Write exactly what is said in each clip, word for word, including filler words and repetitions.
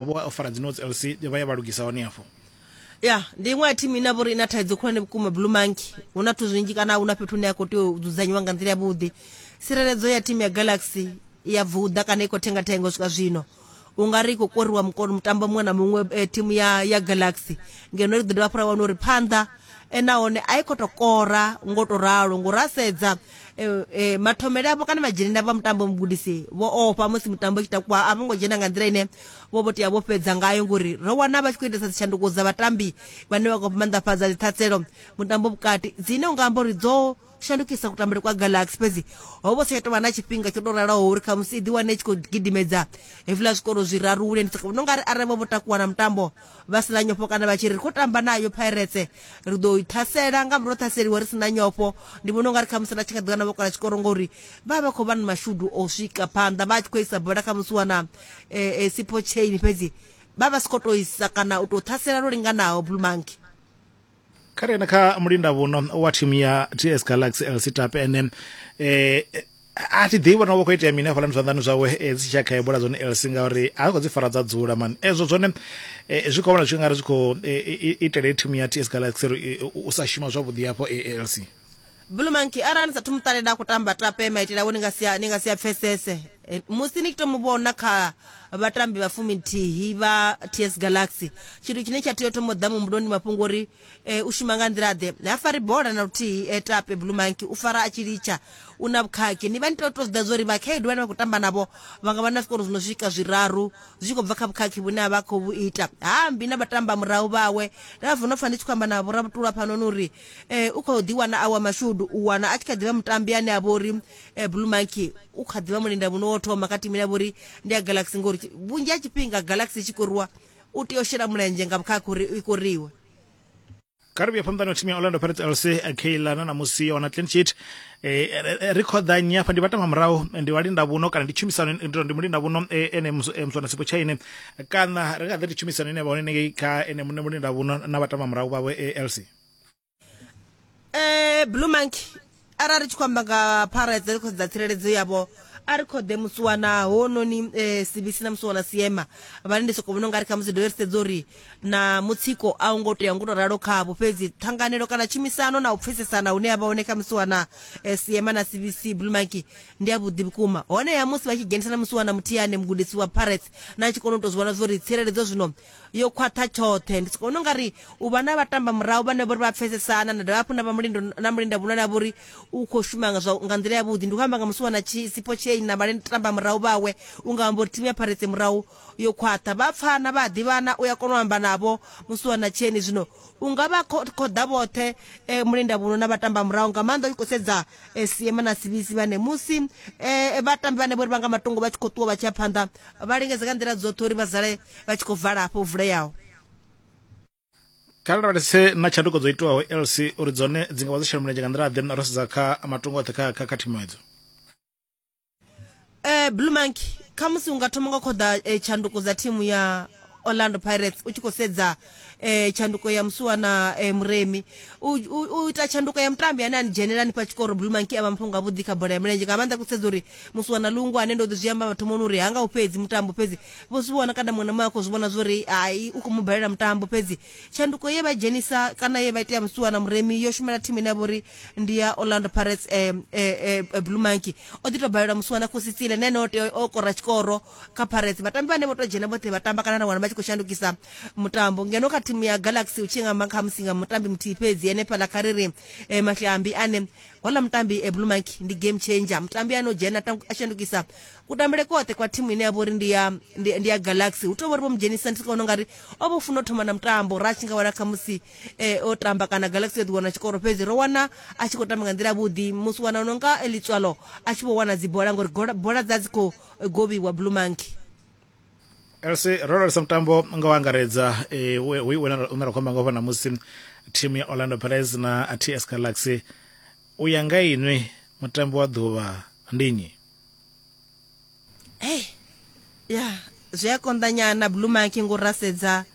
Vho fara dzi notes L C vha ya vha lugisa hone afho. Ya ndi iṅwe ya thimu ine vhori ina thaidzo khulwane vhukuma Blue Monkey. Hu na zwithu zwinzhi kana hu na fhethu hune ya khou tea u dzudzanyiwa nga nḓila yavhuḓi. Tsireledzo ya thimu ya Galaxy ya vuḓa kana i khou thengathenga u swika zwino, u nga ri i khou koriwa mukono mutambo muṅwe na muṅwe thimu ya ya Galaxy, ngeno ri ḓo dovha hafhu ra wana uri phanḓa nahone a i khou tou kora ngo to ralo ngori ra sedza e, mathomele avho kana madzhenele avho a mutambo mugudisi vho ofha musi mutambo tshi takuwa a vho ngo dzhena nga nḓila ine vho vho tea vho fhedza ngayo, ngori ro wana vha tshi khou itesa dzitshanduko dza vhatambi vhane vha khou maanḓafhadza dziṱhatselo mutambo vhukati dzine unga amba uri dzo shandukisa kutambele kwa Galaxy, fhedzi ho vho sa tovha na tshifhinga tsho to raloho uri khamusi i ḓi wane i tshi khou gidimedza hezwiḽa zwikoro zwiraru hune ndi vhona ungari arali vho vho takuwa na mutambo vha sina nyofho kana vha tshi ri khou tamba nayo Pirates ri ḓo i ṱhasela nga murahu ṱhaseliwa ri sina nyofho, ndi vhona ungari khamusi na tshi nga ḓi wana vho kola tshikoro ngori vha vha khou vha na mashudu o swika phanḓa vha tshi khou isa bola khamusi wana e, e, Sipho Chain, fhedzi vha vha si khou tou isa kana u tou ṱhasela lwo linganaho Blue Monkey. Kha ri ene kha mulinda vhuno wa thimu ya T S Galaxy L C Tape ene eh a thi ḓivhi na vho khou itea mini hafhaḽa zwanḓani zwawe dzi tshi kha bola dzone L C ngauri a khou dzi fara dza dzula man ezwo zwone zwi khou vhona zwi nga ri zwi khou itela thimu ya T S Galaxy u sa shuma zwavhuḓi hafho L C. Blue Monkey arali ni sathu muṱalela khou tamba Tape maitele awe ni nga si ni nga si a pfesese musi ni tshi to mu vhona kha vhatambi vha fuminthihi vha T S Galaxy, tshithu tshine tsha tea u thoma u ḓa muhumbuloni mafhungo uri e, u shuma nga nḓila ḓe. Ha fari bola na luthihi e, Tape Blue Monkey u fara a tshi litsha u na vhukhakhi. Ni vha ni tea u tou zwi ḓivha uri vhakhaedu vhane vha khou tamba navho vha nga vha na zwikoro zwi no swika zwiraru zwi tshi khou bva kha vhukhakhi vhune a vha khou vhu ita. Hambi na vhatamba murahu vhawe nda bva no pfa ndi tshi khou amba na vhorabutula phanoni uri e, u khou ḓi wana awa mashudu u wana a tshi kha ḓivha mutambi ane a vha uri e, Blue Monkey u kha ḓivha mulinda vhuno wo thoma kha thimu ine ya vha uri ndi ya Galaxy, ngori vhunzhi ha tshifhinga Galaxy i tshi koriwa u tea u shela mulenzhe nga vhukhakhi uri i koriwe. Kha ri vhuye phanḓa na thimu ya Orlando Pirates L C Keila na namusi yo wana clean sheet ri khoḓa nnyi afha ndi vhatamba murahu ndi vhalinda vhuno kana ndi tshumisano ndi mulinda vhuno ene muswana Sipho Chaine kana ri nga ḓi ndi tshumisano ine vha hone ngei kha ene muṋe mulinda vhuno na vhatamba murahu vhawe L C. Eh Blue Monkey arali tshi khou amba nga Pirates ri khou sedza tsireledzo yavho a ri khoḓe musiwana hononi eh, C B C na musiwana Siema vhane ndi soko vhona ungari khamusi dovhe ri sedze uri na mutsiko a u ngo tea ngo to ralo khavho, fhedzi ṱhanganelo kana tshumisano na u pfesesana hune ya vha hone kha musiwana eh, Siema na C B C Blue Monkey ndi ya vhuḓi vhukuma. Hone ya musi vha tshi dzhenisa na musiwana Muthiane mugudisi wa Pirates na tshi kona u to zwi vhona zwori tsireledzo zwino yo khwaṱha tshoṱhe. Ndi soko vhona ungari u vha na vhatamba murahu vhane vhori vha pfesesana na dovha hafhu na vha mulindo na mulinda vhunwe na vhori u khou shuma nga nga nḓila ya vhuḓi. Ndi khou amba nga musiwana Sipho Chaine na vhatamba murahu vhawe, u nga amba uri thimu ya Pirates murahu yo khwaṱha, vha pfana vha ḓivhana, u ya kona u amba navho musiwana Chaine. Zwino u nga vha khoḓa vhoṱhe e, mulinda vhuno na vhatamba murahu nga maanḓa u khou sedza e, Siema na C B C vhane musi e, vhatambi vhane vhori vha nga matungo vha tshi khou ṱuwa vha tshi ya phanḓa vha lingedza nga nḓila dzoṱhe uri vha zale vha tshi khou vala hafho vuleaho. Kha ri lavhelese na tshanduko dzo itwaho L C uri dzone dzi nga vha dzo shela mulenzhe nga nḓila ḓe ro sedza kha matungo oṱhe kha kha kha thimu edzo. Eh Blue Monkey khamusi unga thoma nga khoḓa eh, tshanduko dza thimu ya Orlando Pirates u tshi khou sedza eh, tshanduko ya musiwana eh, Muremi u, u, u ita tshanduko ya mutambi ane ani dzhenela hanefha tshikoro Blue Monkey a vha mafhungo avhuḓi kha bola ya mulenzhe nga maanḓa ku sedza uri musiwana Lungu ane ndo ḓi zwi amba mathomoni uri hanga u fhedzi mutambo, fhedzi vho zwi vhona kana muṅwe na muṅwe a khou zwi vhona zwori hai u khou mu balela mutambo, fhedzi tshanduko ye vha dzhenisa kana ye vha itea musiwana Muremi yo shumela thimu ine ya vha uri ndi ya Orlando Pirates eh, eh, eh, Blue Monkey o ḓi to balela musiwana Khositsile na ene o tea o kora tshikoro kha Pirates. Vhatambi vhane vho to dzhena vhoṱhe vha tamba kana na wana vha tshi khou shandukisa mutambo, ngeno kha thimu ya Galaxy u tshi nga kha musi nga mutambi muthihi fhedzi henefhaḽa kha ri ri eh, Mahlambi ane hola mutambi eh, Blue Monkey ndi game changer, mutambi ane o dzhena a shandukisa kutambele koṱhe kwa thimu ine ya vha uri ndi ya ndi ya Galaxy. Hu tou vha uri vho mu dzhenisa ndi vhona ungari o vho funa u thoma na mutambo ra tshi nga wana khamusi eh, o tamba kana Galaxy yo ḓi wana tshikoro, fhedzi ro wana a tshi khou tamba nga nḓila vhuḓi musi wana nonga Litswalo a tshi vho wana dzibola ngori bola dza dzi khou govhiwa Blue Monkey. L C ro lavhelesa mutambo nga u angaredza we une ra khou amba nga hafha ṋamusi thimu ya Orlando Pirates na T S Galaxy. U ya nga inwi mutambi wa ḓuvha ndi nnyi? Hey, ya zwi a konḓa nyana Blue Monkey ngo ra sedza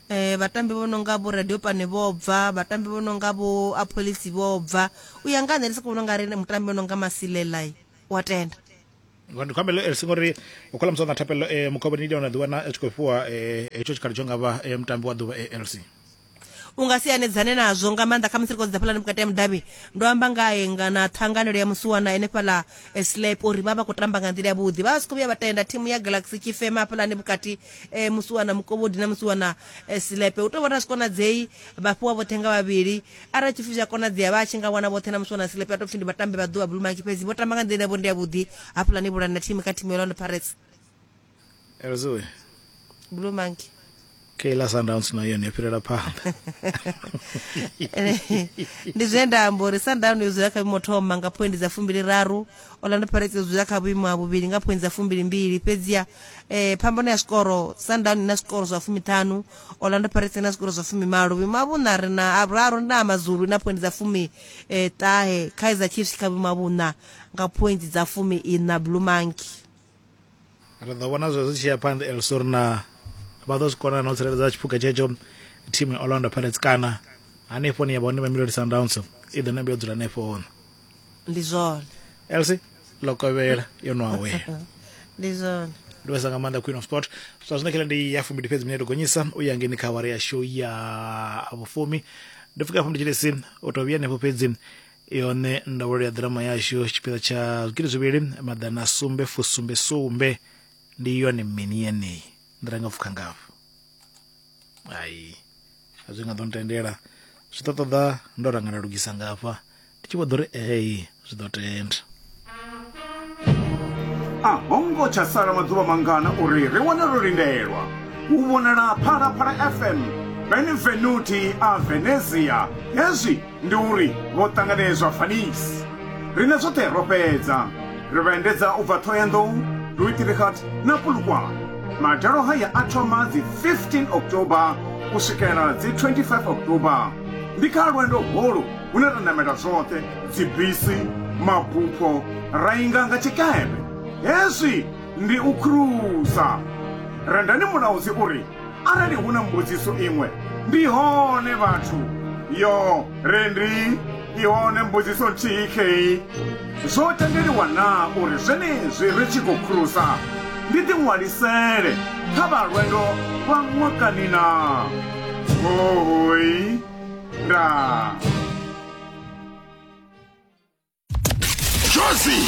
eh vhatambi vho nonga vho Radio Pane vho bva, vhatambi vho nonga vho Apolisi vho bva. U ya nga nṋe ndi soko vhona ungari mutambi o nonga Masilela wa tenda. Ndi khou ambela L C ngori u khola musi na Thapelo eh Mukobani ndi ona ḓiwana a tshi khou fhiwa eh hetsho tshikhala tsho nga vha eh, mutambi wa ḓuvha eh, L C. U nga si hanedzane nazwo nga maanḓa kha musi ri khou sedza fhalani vhukati ha mudavhi. Ndo amba ngae nga na ṱhanganelo ya musiwana henefhaḽa eh, slap uri vha vha khou tamba nga nḓila yavhuḓi, vha vha si khou vhuya vha tenda thimu ya Galaxy tshi fema hafhaḽani vhukati, eh, musiwana Mukovhodi na musiwana eh, Slepe. U tou vhona zwi konadzei vha fhiwa vhoṱhe nga vhavhili. Arali tshipfi zwi a konadzea vha tshi nga wana vhoṱhe na musiwana Slepe a tou pfhi ndi vhatambi vha ḓuvha Blue Monkey, fhedzi vho tamba nga nḓila yavho ndi yavhuḓi hafhaḽani vhulani na thimu kha thimu ya Orlando Pirates. L C we. Blue Monkey. Kayla Sundowns na yone yo fhirela phanḓa. Ndi zwe nda amba uri Sundown yo dzula kha vhuimo thoma nga phoindi dza fumbili raru, Orlando Pirates yo dzula kha vhuimo ha vhuvhili nga phoindi dza fumbili mbili, fhedziha eh, phambano ya zwikoro, Sundown ina zwikoro zwa fumiṱhanu, Orlando Pirates ina zwikoro zwa fumimalo. Vhuimo ha vhuṋa ri na vhuraru na Amazulu ina phoindi dza fumi eh, ṱahe, Kaizer Chiefs kha vhuimo ha vhuṋa nga phoindi dza fumi ina. Blue Monkey. Ri ḓo vhona zwezwo zwi tshi ya phanḓa L C uri na vha ḓo zwi kona na u tsireledza tshiphuga tshetsho thimu ya Orlando Pirates, kana hanefho ni ya vha hone Mamelodi Sundowns i ḓo nambe yo dzula hanefho hone. Ndi zwone. L C ḽo kovhela yo no awela. Ndi zwone. Ndi vhesa nga maanḓa, Queen of Sport. Zwa zwino khela ndi ya fumbili fhedzi minete gonyisa u ya ngeni kha awara yashu ya vhufumi. Ndi pfuka afho ndi tshilesi u tou vhuya hanefho, fhedzi yone ndaulo ya ḓirama yashu tshipiḓa tsha zwigidi zwivhili maḓana sumbe fusumbe sumbe ndi yone mini yeneyi nḓila nga pfukha ngafho ai a zwi nga ḓo ntendela, zwi ḓo ṱoḓa ndo ranga nda lugisa ngafha ndi tshi vho ḓo ri ei zwi ḓo tenda. A ho ngo tsha sala maḓuvha mangana uri ri wane ro lindelwa u vhonala Phalaphala F M Benvenuti a Venezia. Hezwi ndi uri vho ṱanganedzwa Venice. Riṋe zwoṱhe ro fhedza, ri vha endedza u bva Thohoyandou, Louis Trichardt na Polokwane. Madalo haya a thoma dzi fifteen October u swikela dzi twenty-five October. Ndi kha lwendo holu hune ra namela zwoṱhe, dzibisi, mabupho, ra inga nga tshikepe. Hezwi ndi u khurusa. Rendani Mulaudzi uri arali hu na mbudziso iṅwe ndi hone vhathu yo rendi i hone mbudziso nthihi khei: zwo tendeliwa na uri zwenezwi ri tshi khou khurusa ndi ḓiṅwalisele kha vha lwendo lwa ṅwakani na hoi ndaa. Jozi.